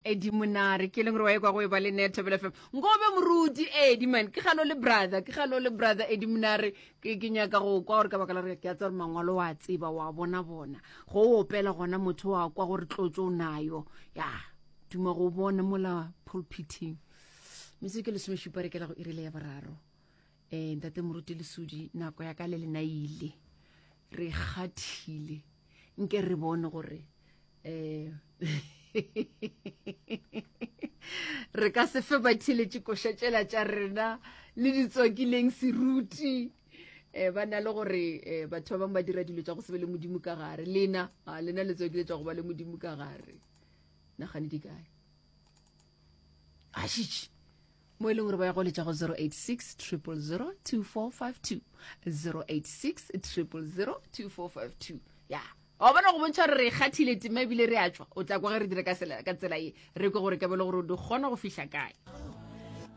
Eddie Monare ke leng gore wa ekwa go e ba le ne Thobela FM nkobe moruti Eddie man ke galo le brother ke galo le brother Eddie Monare ke ke nyaka go kwa gore ka baka la gore ke a tseba gore mangwalo wa tseba wa bona bona go opela gona motho wa kwa gore tlotso o nayo ya duma go bona mola pulpiting metsotso ke lesomešupa re kela go irile ya boraro um ntate moruti lesodi nako ya ka le lena ile re kgathile nke re bone gore um re ka se fe batheletše koša tšela tša rena le ditswakileng seruti um ba na le gore um batho ba bangwe ba dira dilo tša go se be le modimo ka gare lena a lena le tswakile tša go ba le modimo ka gare nagane di kae ašitše mo e leng gore ba ya go letša go 086 000 2452 086 000 2452 ya wa bona go bontšha gore re kgathile tema ebile re a tšwa o tla kwa ge re dire ka tsela ye re kwe gore kabelo gore di kgona go fihla kae.